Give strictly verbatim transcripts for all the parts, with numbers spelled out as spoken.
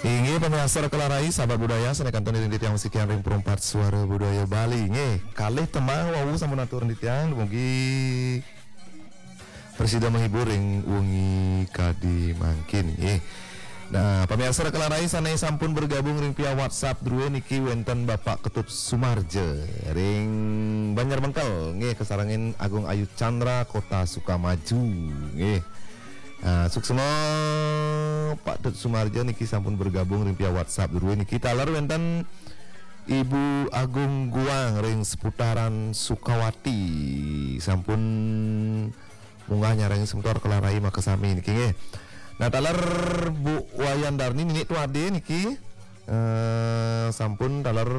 Inggih pamiarsa Kelarai, sahabat budaya, sané kantun iring titiang masikian ring Perumpat Suara Budaya Bali. Nggih, kalih tembang wau sampun atur titiang, dumugi prasida menghibur ring wengi kadi mangkin, nggih. Nah, pamiarsa Kelarai sané sampun bergabung ring via WhatsApp drué niki wénten Bapak Ketut Sumarja ring Banjar Mengkel, nggih, kasarengin Agung Ayu Chandra Kota Sukamaju, nggih. Ah, suksma Pak Tut Sumarja niki sampun bergabung ring via WhatsApp drué niki. Taler wénten Ibu Agung Guang ring seputaran Sukawati sampun munggah nyarengin semeton Kelarai makasami niki nggih. Nah, taler Bu Wayan Darni Ninik Tuade niki, eh, sampun taler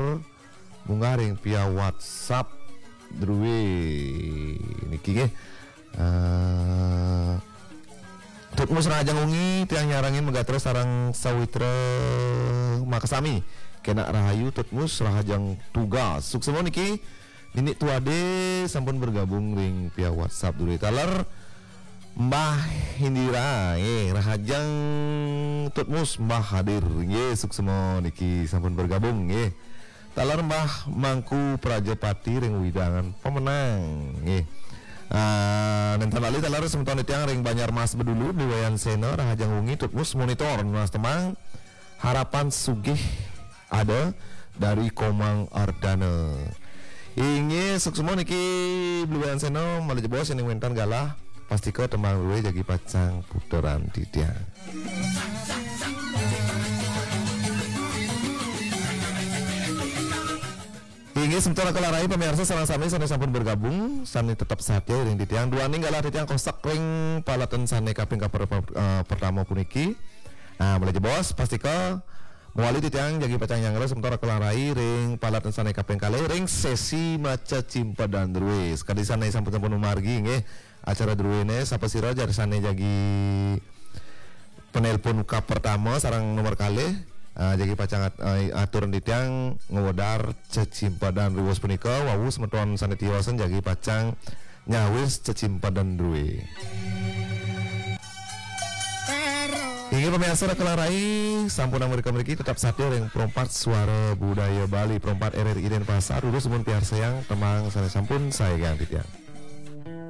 munggah ring via WhatsApp drué niki nggih. Eh, Tutmus Rahajeng Wengi, tiang nyarengin magatra sareng sawitra makasami. Kenak rahayu Tutmus Rahajeng Tugas. Suksma niki Ninik Tuade sampun bergabung ring via WhatsApp drué. Taler Mbah Indira, nggih, Rahajeng Tutmus Mbah hadir, nggih, suksma niki sampun bergabung, nggih. Taler Mbah Mangku Prajapati ring wewidangan Pemenang, nggih. Ah, nénten lali taler semeton titiang ring Banjarmas Bedulu, Bli Wayan Sena, Rahajeng Wengi, Tutmus monitor nunas tembang Harapan Sugih Ada dari Komang Ardana. Inggih, suksma niki Bli Wayan Sena, malih jebos yén wénten galah, pastika tembang drué jagi pacang puteran titiang. Inggih, semeton Kelarai pamiarsa sareng sami sané sampun bergabung, sané tetep satia ring titiang. Duaning galah titiang kosek ring paletan sané kaping kaper-, eh, pertama puniki. Nah, malih jebos, pastika mawali titiang jagi pacang nyanggra semeton Kelarai ring paletan sané kaping kalih ring sesi maca cimpedan drué. Sakadi sané sampun-sampun mamargi nggih acara druéné, sapasira jagi sané jagi penelpon ka pertama sareng nomor kalih, ah, jagi pacang at-, ah, atur titiang ngwedar cecimpedan riwus punika, wau semeton sané tiosan jagi pacang nyawis cecimpedan drué. Inggih pamiarsa Kelarai, sampun mrika mriki tetep satia ring Perumpat Suara Budaya Bali, Perumpat R R I Denpasar, durus sampun piarsayang tembang sané sampun saégang titiang.